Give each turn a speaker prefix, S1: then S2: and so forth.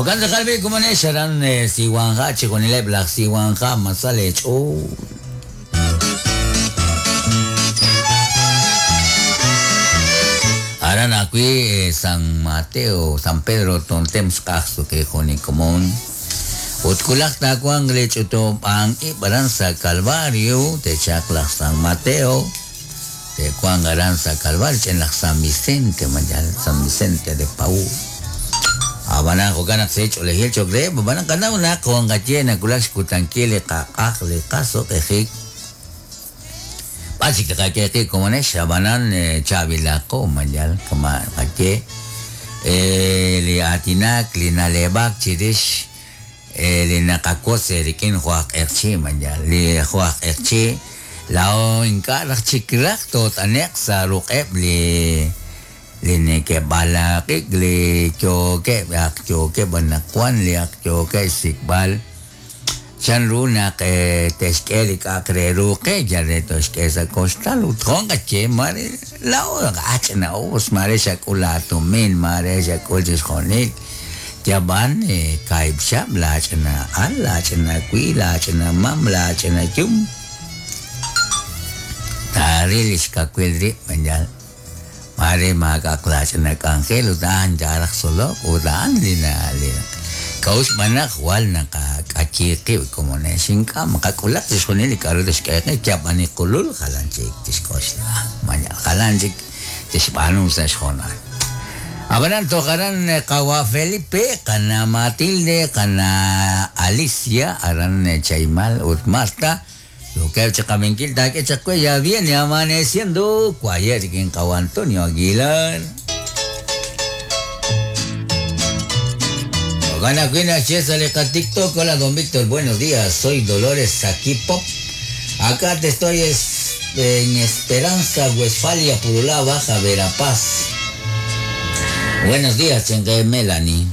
S1: Jo'kan tz'aqal b'i' komonex aran Siwanja chixjunileb' laj Siwanja ma sa leech'ool. Aran ajwi' San Mateo, San Pedro Tontem xq'aj suqi jun li komon. Ut wulaj taawanq li ch'utub'ank ib' aran sa' Calvario, te'chalq laj San Mateo, te'wanq aran sa' Calvario ch'en laj San Vicente, ma yal San Vicente de Paúl. Ab'anan jo'kan naq se ch'oolejil cho'q reheb', ab'anan qanaw naq jo' nqaye nawulak xkutankil li qaq'aj li qasuq'ejik. B'ar chik tqak'e qib' komonex, ab'anan chaab'ilaqo ma yal kama' nqaye li aatinak, li na'leb'ak chirix li naqawotz eerik'in jo' aj q'eqchi' ma yal li jo' aj q'eqchi' laa'o ink'a' raj chik raj toot'ane'q sa' ruq'eb' li li neke'b'alaq'ik li yookeb' ak yookeb' anaqwan li ak yookeb' xsik'b'al Chan ru naq te'xk'e li k'a'aq re ru qe yal re toxk'e sa' koxtal ut jo' nqaye maare laa'o ach'ina'us, maare xak'ul laatumin, maare xak'ul chixjunil, yab'an kaahib' chihab' laach'ina al, laach'ina wi, laach'ina mam, laach'ina yum, taaril li xkawil rib' yal maare maak'a'aq laach'ina k'anjel ut a'an taaraj tzolok ut a'an li k'a'uxl xb'aan naq jwal naqak'ayi qib' komonex ink'a' maqak'ulaq chixjunil li k'a'ru tixk'e qe yab'an li qulul jalan chik tixk'oxla malaj jalan chik tixb'aanu sa' xhoonal. Ab'anan toj aran qawa' Felipe, qana' Matilde, qana' Alicia, aran Chaimal ut Marta, Yookeb' chi qabinkil taak'e chaq we ya viene amaneciendo waye' rik'in qawa' Antonio Aguilar. Jo'kan ajwi' naxye sa' li qaTikTok, Hola don Víctor, buenos días, soy Dolores aquí Pop. Acá te estoy en Esperanza, Westfalia, Purulá, Baja Verapaz. Buenos días, chenke Melanie.